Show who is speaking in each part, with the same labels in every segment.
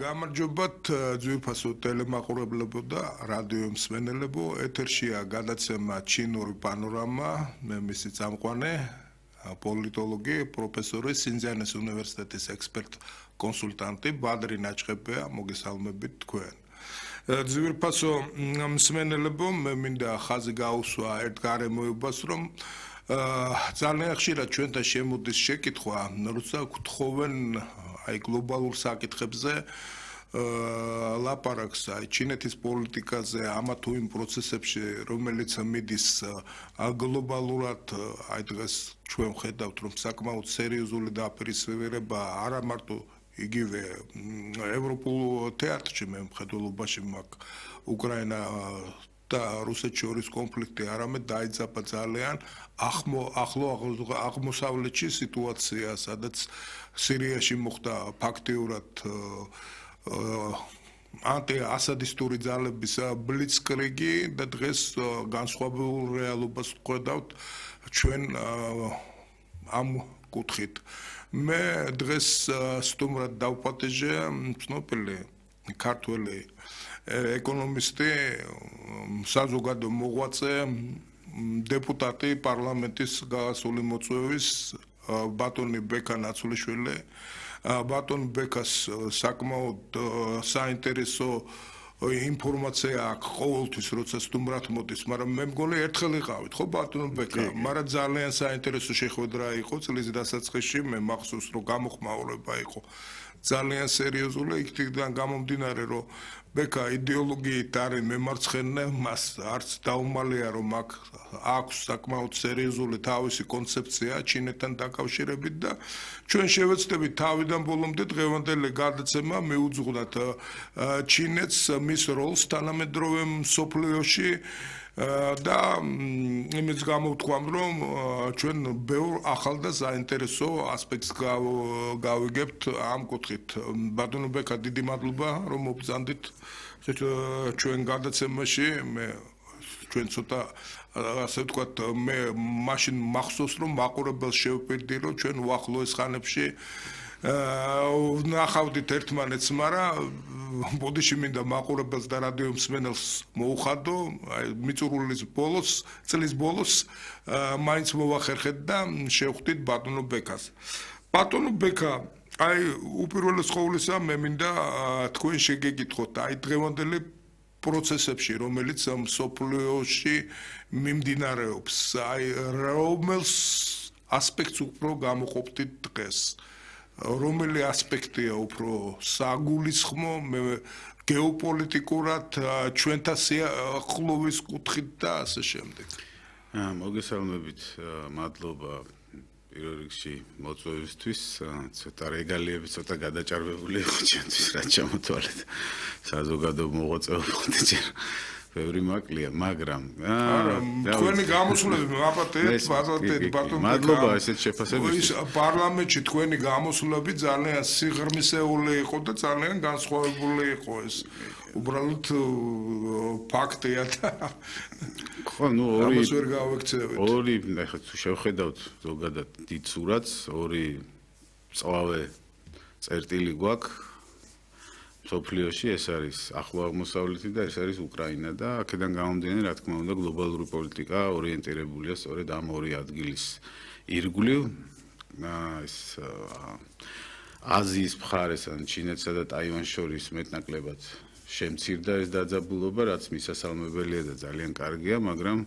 Speaker 1: გამარჯობათ ძვირფასო ტელემაყურებლებო და რადიო მსმენელებო, ეთერშია გადაცემა ჩინური პანორამა, მე მისი წამყვანი პოლიტოლოგი, პროფესორი სინძიანის უნივერსიტეტის ექსპერტ კონსულტანტი ბადრი ნაჭყებია, მოგესალმებით თქვენ. ძვირფასო მსმენელებო, მე მინდა ხაზი გაუსვა ერთ გარემოებას, რომ ძალიან ხშირად ჩვენთან შემოდის შეკითხვა, როცა გთხოვენ აი გლობალურ საკითხებზე ლაპარაკს აი ჩინეთის პოლიტიკაზე ამა თუ იმ პროცესებში რომელიც მიდის გლობალურად აი დღეს ჩვენ ხედავთ რომ საკმაოდ სერიოზული დაპირისპირება არა მარტო იგივე ევროპულ თეატრში მე მხედველობაში მაქვს უკრაინა და რუსეთს შორის კონფლიქტი არამედ დაიძაბა ძალიან ახლო აღმოსავლეთში სიტუაცია, სადაც სირიაში მოხდა ფაქტიურად ანტიასადისტური ძალების ბლიცკრიგი და დღეს განსხვავებულ რეალობას ვხედავთ ჩვენ ამ კუთხით. მე დღეს სტუმრად დავპატეჟე ცნობილი ქართველი ეკონომისტი, საზოგადო მოღვაწე, დეპუტატი პარლამენტის გასული მოწვევის ბატონი ბექა ნაცვლიშვილი. ბატონ ბექას საკმაოდ საინტერესო ინფორმაცია აქვს ყოველთვის, როცა სტუმრად მოდის, მაგრამ მე მგონი ერთხელ იყავით, ხო ბატონ ბექა, მაგრამ ძალიან საინტერესო შეხვედრა იყო წლის დასაწყისში, მე მახსოვს რომ გამოხმაურება იყო ძალიან სერიოზული, იქიდან გამომდინარე რომ ბექა იდეოლოგიით არის მემარცხენე, მას არც დაუმალია რომ აქვს საკმაოდ სერიოზული თავისი კონცეფცია ჩინეთთან დაკავშირებით და ჩვენ შევეცდებით თავიდან ბოლომდე დღევანდელი გადაცემა მიუძღვნათ ჩინეთს მის როლს თანამედროვე მსოფლიოში და იმის გამოვთქვამ რომ ჩვენ ბევრ ახალ და საინტერესო ასპექტს გავიგებთ ამ კუთხით. ბატონო ბექა, დიდი მადლობა რომ მობრძანდით ჩვენ გადაცემაში. ჩვენ ცოტა ასე ვთქვათ, მე მაშინ მახსოვს რომ მაყურებელს შევპირდი რომ ჩვენ უახლოეს ხანებში ნახავდით ერთმანეთს, მაგრამ ბოდიში მინდა მაყურებელს და რადიო მსმენელს მოუხადო, აი მიწურულის ბოლოს, წლის ბოლოს მაინც მოვახერხეთ და შევხვდით ბატონო ბეკას. ბატონო ბეკა, აი უპირველეს ყოვლისა მე მინდა თქვენ შეგეკითხოთ, აი დღევანდელი პროცესებში, რომელიც მსოფლიოში მიმდინარეობს, აი რომელს ასპექტს უფრო გამოყოფდით დღეს? რომელი ასპექტია უფრო საგულისხმო გეოპოლიტიკურად ჩვენთან სიახლოვის კუთხით და ასე შემდეგ.
Speaker 2: მოგესალმებით, მადლობა პირველ რიგში მოწვევისთვის, ცოტა რეგალიები ცოტა გადაჭარბებული იყო ჩვენთვის, რაც ჩამოთვალეთ. საზოგადო მოღვაწეობა ჯერ ბევრი მაკლია, მაგრამ
Speaker 1: თქვენი გამოსვლები მაპატეთ ბატონ
Speaker 2: მადლობა ესეთ შეფასებისთვის.
Speaker 1: პარლამენტში თქვენი გამოსვლები ძალიან სიღრმისეული იყო და ძალიან განსხვავებული იყო ეს. უბრალოდ ფაქტია და
Speaker 2: ხო, ნუ
Speaker 1: ამას ვერ გავექცევით.
Speaker 2: ორი, ახლა თუ შევხედავთ ზოგადად დიდ სურათს, ორი წვავე წერტილი გვაქვს მსოფლიოში, ეს არის ახლო აღმოსავლეთი და ეს არის უკრაინა და აქედან გამომდინარე, რა თქმა უნდა, გლობალური პოლიტიკა ორიენტირებულია სწორედ ამ ორი ადგილის ირგვლივ. ეს აზიის მხარეს, ან ჩინეთსა და ტაივანს შორის მეტნაკლებად შემცირდა ეს დაძაბულობა, რაც მისასალმებელია და ძალიან კარგია, მაგრამ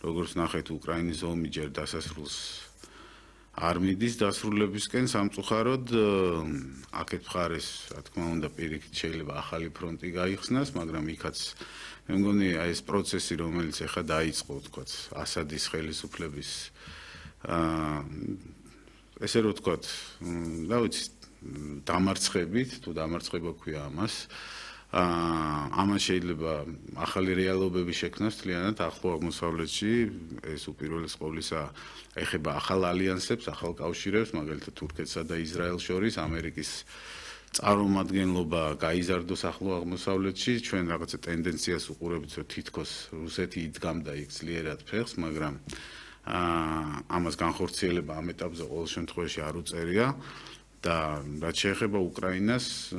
Speaker 2: როგორც ნახეთ, უკრაინის ომი ჯერ დასასრულს არ მიდის დასრულებისკენ სამწუხაროდ აქეთ მხარეს, რა თქმა უნდა, პირიქით შეიძლება ახალი ფრონტი გაიხსნას, მაგრამ იქაც მე მგონი აი ეს პროცესი, რომელიც ახლა დაიწყო, ვთქვათ, ასადის ხელისუფლების ესე რომ ვთქვათ, რა ვიცი, დამარცხებით, თუ დამარცხება ქვია ამას, ამან შეიძლება ახალი რეალობები შექმნას მთლიანად ახლო აღმოსავლეთში, ეს უპირველეს ყოვლისა ეხება ახალ ალიანსებს, ახალ კავშირებს, მაგალითად თურქეთსა და ისრაელს შორის, ამერიკის წარმომადგენლობა გაიზარდოს ახლო აღმოსავლეთში, ჩვენ რაღაცა ტენდენციას უყურებთ, რომ თითქოს რუსეთი იდგამდა იქ ძლიერად ფეხს, მაგრამ ამას განხორციელება ამ ეტაპზე ყოველ შემთხვევაში არ უწერია და რაც შეეხება უკრაინას,